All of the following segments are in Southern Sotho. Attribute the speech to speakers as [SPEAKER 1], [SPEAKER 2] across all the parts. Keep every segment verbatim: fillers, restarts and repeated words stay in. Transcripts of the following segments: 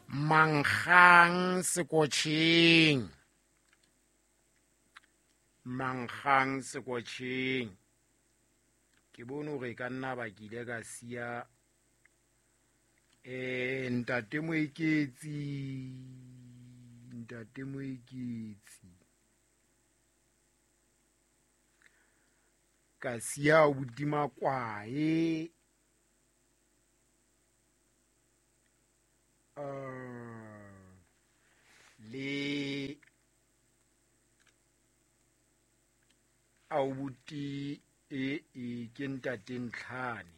[SPEAKER 1] Mankgang Sekotjheng, Mankgang Sekotjheng. Ke bone hore e ka nna ba ke ile ka siya eh ntate Moeketsi, ntate Moeketsi ka siya hodima kwae, uh, le aubuti e e ke ntate Ntlhane.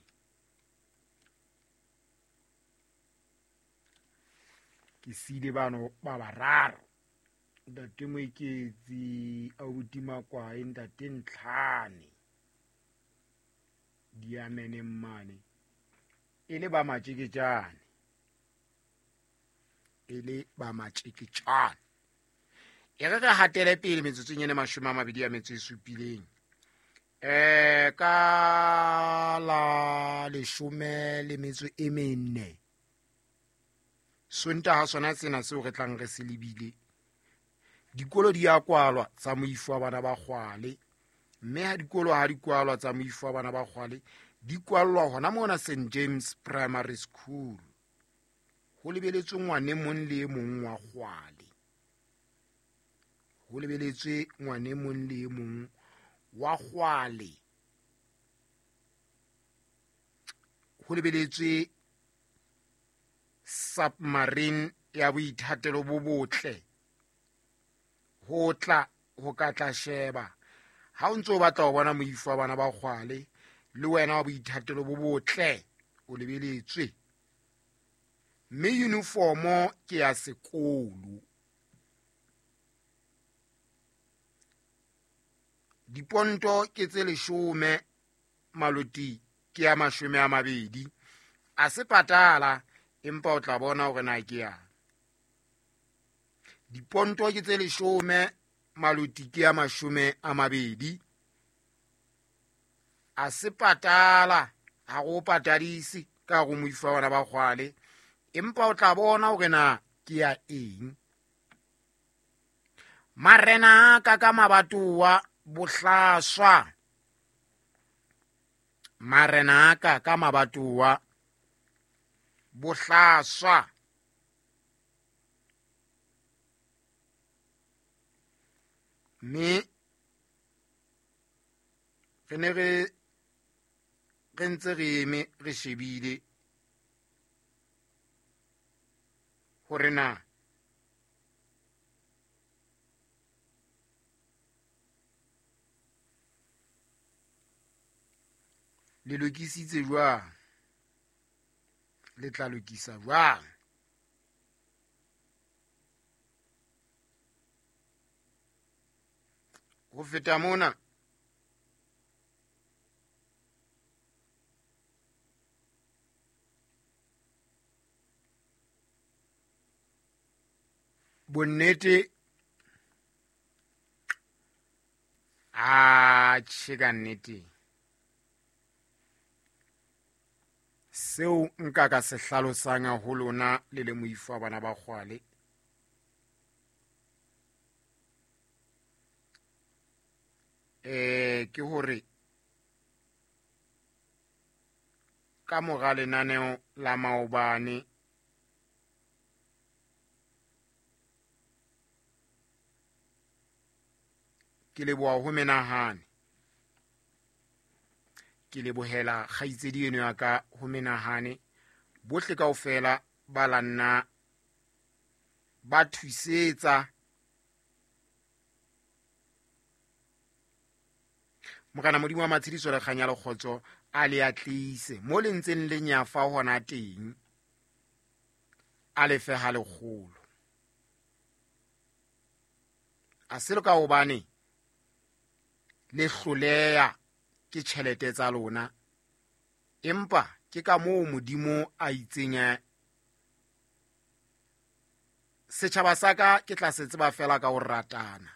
[SPEAKER 1] Ke siile bano ba bararo, ntate Moeketsi, aubuti Makwae, ntate Ntlhane, diameneng mane e le ba matjeketjane, e le ba matjeketjane. E re re hatele pele metsotsong ena mashome a mabedi a metso e supileng. Eh ka la leshome le metso e mene Sontaha sona sena seo re tlang re se lebile, dikolo di a kwalwa tsa moifo wa bana ba Kgwale, mme ha dikolo ha di kwalwa tsa moifo wa bana ba Kgwale di kwallwa hona mona Saint James Primary School. Ho lebeletswe ngwane mong le e mong wa Kgwale, ho lebeletswe ngwane mong le e mong wa Kgwale, ho lebeletswe submarine ya boithatelo bo botle ho tla ho ka tla sheba. Ha o ntso o batla ho bona moifo wa bana ba Kgwale le wena wa boithatelo bo botle, o lebeletswe. Mme uniformo ke ya sekolo, diponto ke tse leshome, maloti ke ya mashome a mabedi. A se patala, empa o tla bona hore na ke yang. Diponto ke tse leshome, maloti ke ya mashome a mabedi. A se patala, ha go patadise ka go moifo wa bana ba Kgwale, empa o tla bona hore na ke ya eng. Marena a ka ka mabatowa bohlaswa, marena a ka ka mabatowa bohlaswa. Mme re ne re re ntse re eme re shebile hore na le lokisitse jwang, le tla lokisa jwang. Ho feta mona, bonnete a tjhe ka nnete, seo nka ka se hlalosang ho lona le le moifo wa bana ba Kgwale, eh ke hore ka mora lenaneo la maobane ke leboha ho menahane, ke lebohela kgaitsedi eno ya ka ho menahane, bohle kaofela ba la nna ba thusetsa. Morena Modimo wa matshediso le kganya le kgotso a le atlise mo le ntseng le nyafa hona teng, a le fe ha lekgolo. A se le ka hobane le hloleha ke tjhelete tsa lona, empa ke ka moo Modimo a itseng setjhaba sa ka ke tla se tseba fela ka ho ratana,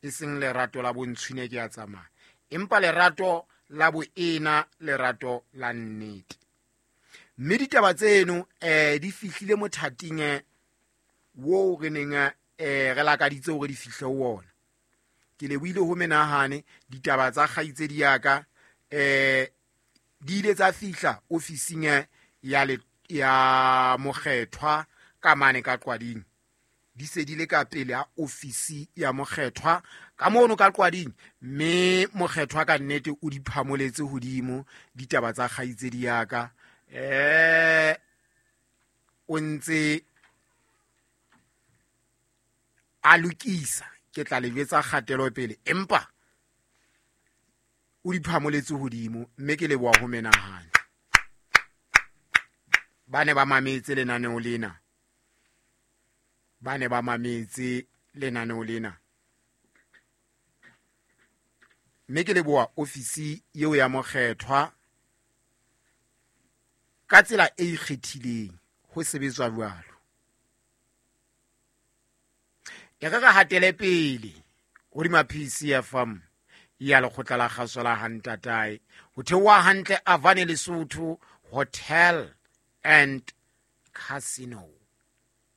[SPEAKER 1] e seng lerato la bontshwine ke ya tsamaya, empa lerato la boena, lerato la nnete. Mme ditaba tseno um di fihlile mothating wo re neng um re lakaditse hore di fihle ho ona. Ke lebohile ho menahane ditaba tsa kgaitsedi ya ka um di ile tsa fihla ofising ya le ya mokgethwa ka mane ka Qwading. Di se di le ka pele ha ofisi ya mokgethwa ka mono ka Qwading, mme mokgethwa ka nnete o di phamoletse hodimo ditaba tsa kgaitsedi ya ka. Eh o ntse a lokisa, ke tla le jwetsa kgatelo pele, empa o di phamoletse hodimo, mme ke leboha ho menahane. Ba ne ba mametse lenaneo lena, ba ne ba mametse lenaneo lena, mme ke leboha ofisi eo ya mokgethwa ka tsela e ikgethileng ho sebetswa jwalo. E re re hatele pele hodima P C F M ya lekgotla la kgaso la Hantatae, ho theoha hantle Avane Lesotho Hotel and Casino.